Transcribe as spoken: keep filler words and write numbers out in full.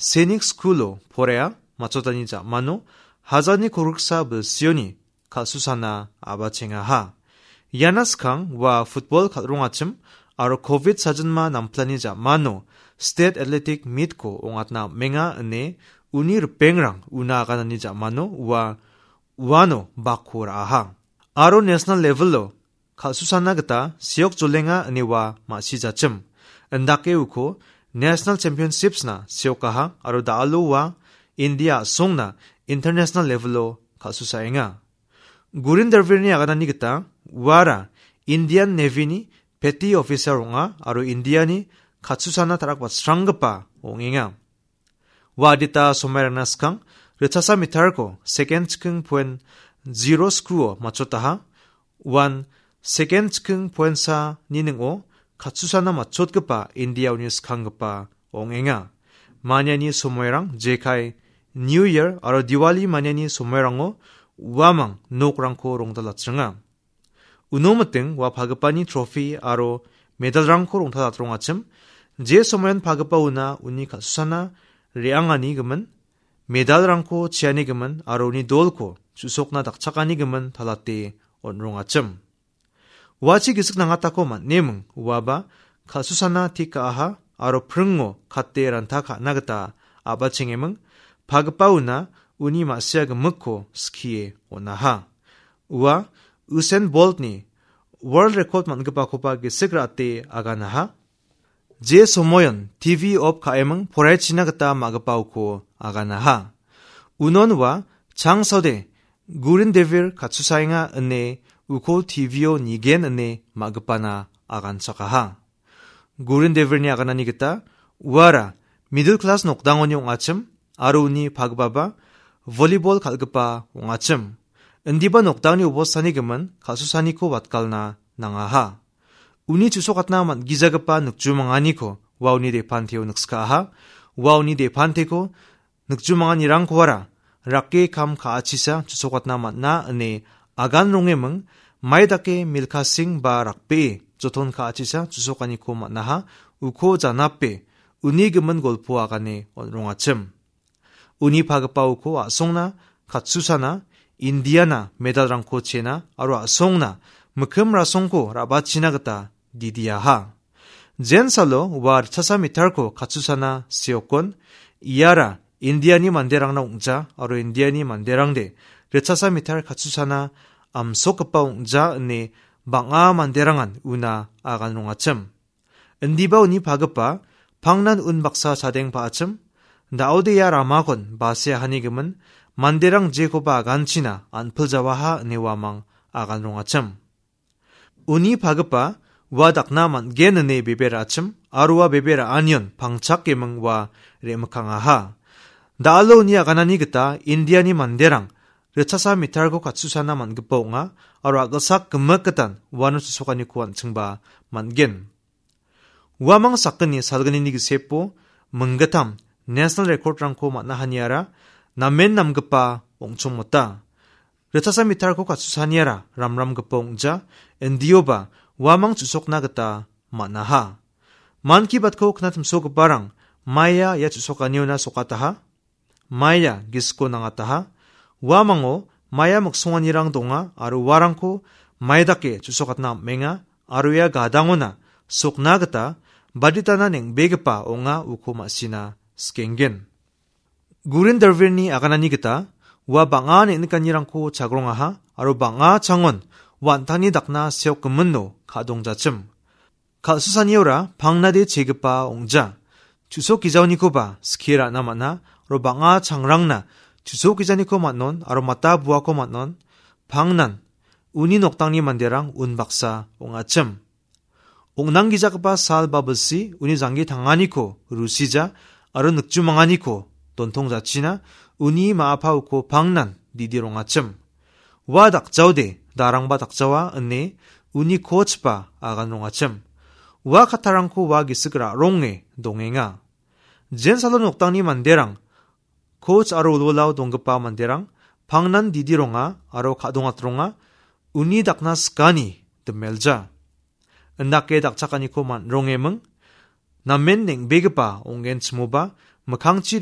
Sainik School-o poraia matchotani ja·mano hajalni kolgriksa bilsioni kal·susana a·bachengaha. Iana skang ua football kal·rongachim aro covid sajilma namplani ja·mano State Athletic Meet-ko ong·atna am·enga ine uni ripengrang una aganani ja·mano ua uano bakko ra·aha. Aro national level-o kal·susana gita seok jolenga ine ua ma·sijachim. Indake uko National Championships-na seokaha aro da·alo ua India a·songna international level-o kal·susaenga. Gurin Darvirni aganani gita uara Indian Navy-ni petty officer ong·a aro Indiani kal·susana tarakbatsranggipa ong·enga. Ua adita somairangna skang ritchasa meter-ko second chiking point zero skuo matchotaha. Uan second chiking point sa ni ning·o kal·susana matchotgipa India-oni skanggipa ong·enga. Maniani somoirang jekai New Year aro Diwali maniani somoirango uamang nokrangko rongtalatchenga. Uno miting ua pagipani trophy aro medalrangko rongtalatrongachim. Je somoion pagipa una uni kal·susana re·angani gimin, medalrangko cheani gimin aro uni dolko chu·sokna dakchakani gimin talate on·rongachim. Uachi gisik nangatako man·eming uaba kal·susana tik ka·aha aro pringo kate ranta ka·na gita a·bachengeming, pagipa una uni ma·sia gimikko skie on·aha. Ua Usain Boltni world record man·gipakoba gisik ra·ate aganaha. Je somoion T V off ka·eming poraichina gita ma·gipaoko aganaha. Unon ua changsode Gurin Devir katsusaenga ine uko T V-o nigen ine ma·gipana aganchakaha. Gurin Devirni aganani gita uara middle class nokdangoni ong·achim aro uni pagipaba volleyball kal·gipa ong·achim. Indiba nokdangni obostani gimin kal·susaniko watgalna nangaha. Uni chu·sokatna man·gijagipa nikjumanganiko ua uni depanteo nikskaaha. Ua uni depanteko nikjumanganirangkoara rake kam ka·achisa chu·sokatna man·a ine agan rongeming, mai dake milkasing ba rakbee joton ka·achisa chu·sokaniko man·aha, uko janape uni gimin golpo agane on·rongachim. Uni pagipa uko a·songna katsusana Indiana medalrangko chena aro a·songna mikkim rasongko ra·bachina gita didiaha. Jensalo ua ritchasa meterko katsusana seokon, iara Indiani manderangna ong·ja aro Indiani manderangde ritchasa meter katsusana amsokgipa ong·ja ine bang·a manderangan una agan rongachim. Indiba uni pagipa pangnan un baksa chadeng pa·achim, da·ode ia ramakon base ahanigimin manderang jekoba aganchina an·piljawaha ine uamang agan rongachim. Uni pagipa ua dakna man·gen ine bebe ra·achim aro ua bebe ra·anion pangchakeming ua re·mikangaha. Da·alo uni aganani gita Indiani manderang ritchasa meterko katsusana man·gipa ong·a aro a·gilsak gimik gitan uano chu·sokaniko an·chingba man·gen. Uamang sakgni salgnini gisepo minggittam national record-rangko man·a haniara namen namgipa ong·chongmota. Ritchasa meterko katsusaniara ramramgipa ong·ja, indioba uamang chu·sokna gita man·aha. Manki batko knatimsogiparang maia ia chu·sokaniona sokataha. Maia gisiko nangataha. Uamango maia miksonganirang donga aro uarangko mai dake chu·sokatna am·enga aro ia gadangona sokna gita baditana neng·begipa ong·a uko ma·sina skenggen. Gurin Darvirni aganani gita ua bang·a neng·nikanirangko chagrongaha aro bang·a changon ua an·tangni dakna seokgiminno ka·dongjachim. Kal·susaniora pangnade chegipa ong·ja. Chu·sok gijaonikoba skie ra·na man·a, aro bang·a changrangna chu·sok gijaniko man·on, aro mata buako man·on, pangnan uni noktangni manderang unbaksa ong·achim. Ong·nanggijagipa sal ba bilsi uni janggi tanganiko rusija, aro nikjumanganiko dontongjachina, uni ma·a paoko pangnan didi rongachim. Ua dakjaode, darangba dakjawa, ine uni coach-ba agan rongachim. Ua kattarangko ua gisik ra·ronge dongenga. Jensalo noktangni manderang, coach aro wilwilao donggipa manderang, pangnan didi ronga aro ka·dongatronga, uni dakna sikani dimelja. Indake dakchakaniko man·rongeming, namen neng·begipa ong·genchimoba, mikkangchi